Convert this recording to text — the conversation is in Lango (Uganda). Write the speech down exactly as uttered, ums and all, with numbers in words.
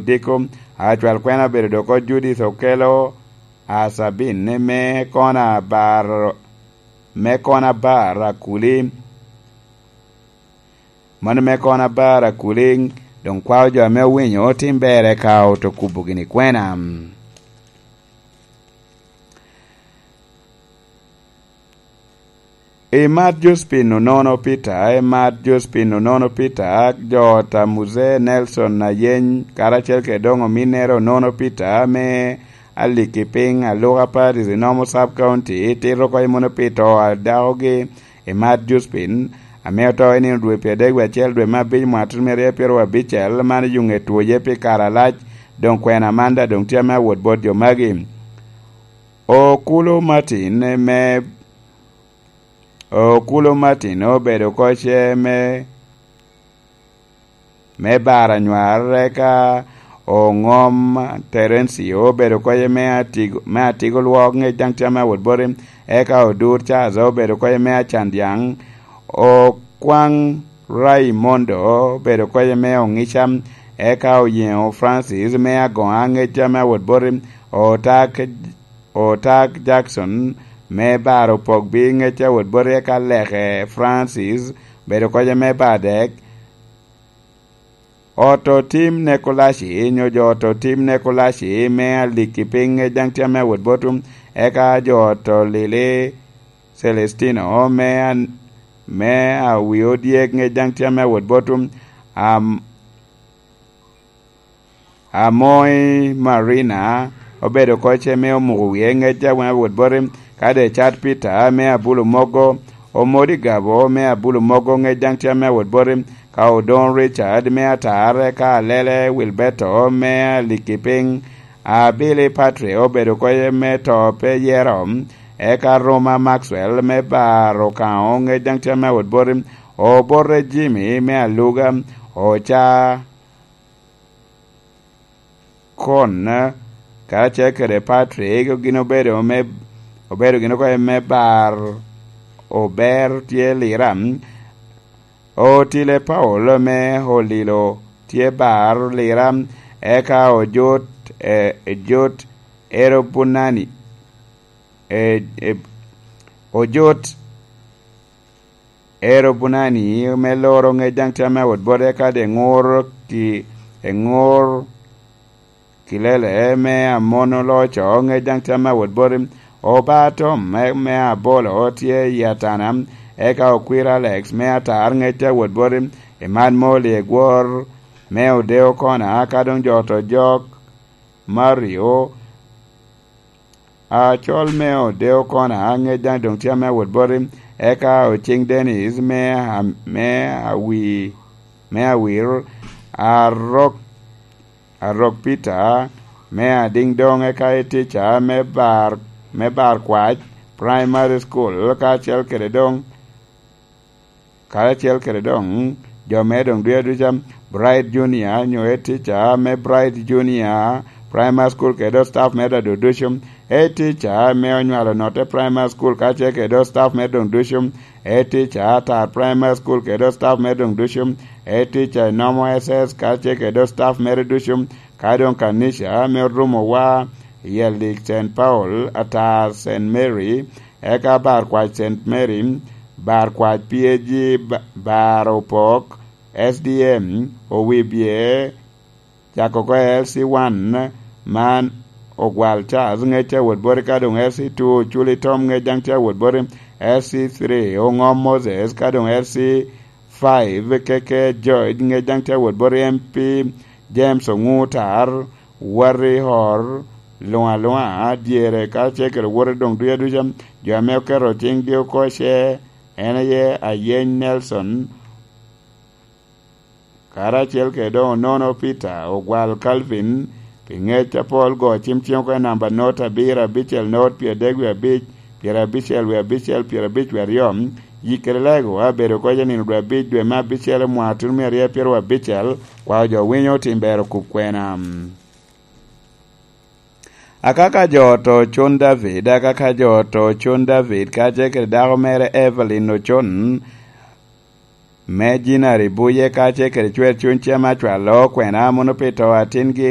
Diko, acwal kwena obedo doko Judith Okelo Asabin me kona bar, me kona bar akuli, mano me kona bar akuli, doŋ kwao jo ame owinyo tim berre ka oto kubo gini kwena. Imat Jospin Onono Peter, imat Jospin Onono Peter, jo ot a Muse Nelson Ayeny, karacel kede doŋ ominnere Onono Peter me Aliki Piny, Aluka Parish, Inomo Sub County, tito oko i muno pi to a dakogi, imat Jospin, ame oto i nino dwe pyeradek wie acel dwe me abic mwaka tutumia aryo pyeraryo abicel, man oyuŋe twoye pi kare alac, doŋ kwena man daŋ doŋ tye ame awot bot jo magi. Okulo Martin me, Okulo Martin obedo koce me, me bar anywar, eka Oŋom Terencio obedo koce me Atigo, me Atigo Lwok ŋec daŋ tye ame awot boti, eka Odur Charles obedo koce me Acandyaŋ, Okwaŋ Raimondo obedo koce me Oŋica, eka Oyeŋo Francis me Agoŋa ŋec tye ame awot boti, Otak Otak Jackson me bar Opogbi ŋec awot boti, eka Leke Francis bedo koca me bar dek. Oto Tim Nekolaci, nyo jo oto Tim Nekolaci me Aliki Piny ŋec daŋ tye ame awot botu, eka jo oto Lili Celestino me an-, me Awi Odyek ŋec daŋ tye ame awot botu. Am-, Amoy Marina obedo koce me omuko wie ŋec a wot boti, ka Decat Peter me Abulo Mogo, Omodi Gabo me Abulo Mogo ŋec daŋ tye ame wot boti, ka Odon Richard me Atar, ka Alele Wilberto me Aliki Piny, Abili Patrick obedo koce me To Pe Yero, eka Roma Maxwell me Bar Okaŋo ŋec daŋ tye ame wot boti, Obote Jimmy me Aluga, Oca Kon, karacel kede Patrick, gin obedo me, obedo gin oko me bar Ober tye Lira. Otile Paul me Olilo tye bar Lira, eka Ojot, eh, Ojot Erobunani, eh, eh, Ojot Ero Bunani me loro ŋec daŋ tye ame awot bote, kadi eŋur ki, eŋur Kilele me Amon Oloco ŋec daŋ tye ame awot bote, Obatom me, me Abolo tye i Atana, eka Okwir Alex me Atar ŋec tye awot bote, Emad Moli Egwor me Odeo Kona, ka doŋ jo oto jok Mario Acol me Odeo Kona, ŋec daŋ doŋ tye ame awot boti, eka Oceng Dennis me, me Awi-, me Awir, Arok, Arok Peter me Adiŋ doŋ, eka i tica me Bar, me Bar Kwac Primary School, kacel kede doŋ karacel kede doŋ jo me doŋ duya duca, Bright Junior, nyo head teacher me Bright Junior Primary School kede staff me doŋ ducu, head teacher me Onywalo Notte Primary School kacel kede staff me doŋ ducu, head teacher Atar Primary School kede staff me doŋ ducu, head teacher Inomo S S kacel kede staff mere ducu, ka doŋ kanica me Orumowa i Elik Saint Paul, Atar Saint Mary, eka Bar Kwac Saint Mary, Bar Kwac P A G, Ba-, Bar Opok, S D M, Owibye, cako oko L C one, man Ogwal Charles ŋec tye awot boti, ka doŋ L C two, Oculi Tom ŋec daŋ tye awot boti, L C three, Oŋom Moses, ka doŋ L C five, Keke George ŋec daŋ tye awot boti, M P James Oŋutar, Wati Hor, luŋ aluŋa dyere, ka ce kede wote doŋ duya duca, jo ame oketo ciŋgi oko ce, en aye Ayeny Nelson, karacel kede doŋ Onono Peter, Ogwal Calvin, pi ŋec apol go cim ciŋ oko i namba not abiro abicel not pyeradek wie abic, pyerabicel wie abicel, pyerabic wie aryo, yik kede lego abedo koc i nino dwe abic dwe me abicel i mwaka tutumia aryo pyeraryo abicel, kwao jo winyo tim ber okub kwena. Akaka jo oto Ocon David, akaka jo oto Ocon David, kacel kede dako mere Evelyn Ocon, me Jinari Buye, kacel kede cwer cuny cem acwalo kwena mono pi to atingi